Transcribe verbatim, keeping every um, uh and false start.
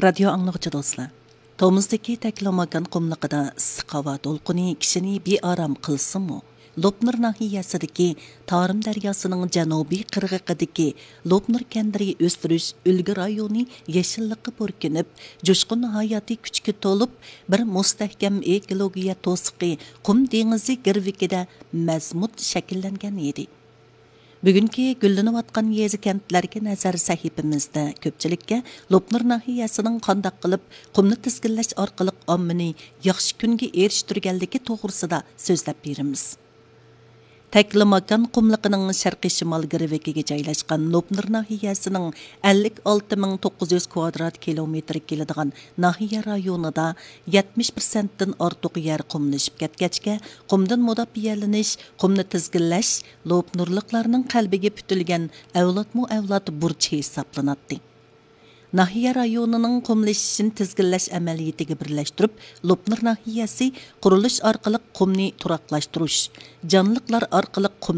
رادىيو ئاڭلىغۇچى دوستلار، تومۇزدىكى تەكلىماكان قۇملۇقىدا ئىسسىق ھاۋا دولقۇنى كىشىنى بىئارام قىلسىمۇ، لوپنۇر ناھىيەسىدىكى تارىم دەرياسىنىڭ جەنۇبىي قىرغىقىدىكى لوپنۇر كەندىرى ئۆستۈرۈش ئۈلگە رايونى يېشىللىققا پۈركىنىپ، جۇشقۇن ھاياتىي كۈچكە تولۇپ، بىر مۇستەھكەم ئېكولوگىيە توسۇقى قۇم دېڭىزى گىرۋىكىدە مەزمۇت شەكىللەنگەن ئىدى. بۈگۈنكى گۈللىنىۋاتقان يېزا، كەنتلەرگە نەزەر سەھىپىمىزدە كۆپچىلىككە لوپنۇر ناھىيەسىنىڭ قانداق قىلىپ قۇمنى تىزگىنلەش ئارقىلىق ئاممىنى ياخشى كۈنگە ئېرىشتۈرگەنلىكى توغرىسىدا سۆزلەپ بېرىمىز. تەكلىماكان قۇملۇقىنىڭ شەرقىي شىمال گىرۋىكىگە جايلاشقان لوپنۇر ناھىيەسىنىڭ ئەللىك ئالتە مىڭ توققۇز يۈز كۋادرات كىلومېتىر كېلىدىغان ناھىيە رايونىدا يەتمىش پىرسەنتتىن ئارتۇق يەر قۇملىشىپ كەتكەچكە، قۇمدىن مۇداپىئەلىنىش، قۇمنى تىزگىنلەش لوپنۇرلۇقلارنىڭ قەلبىگە پۈتۈلگەن ئەۋلادمۇ ئەۋلاد بۇرچى ھېسابلىناتتى. ناھىيە رايونىنىڭ قۇملىشىشىنى تىزگىنلەش ئەمەلىيىتىگە بىرلەشتۈرۈپ، لوپنۇر ناھىيەسى قۇرۇلۇش ئارقىلىق قۇمنى تۇراقلاشتۇرۇش، جانلىقلار ئارقىلىق قۇمنى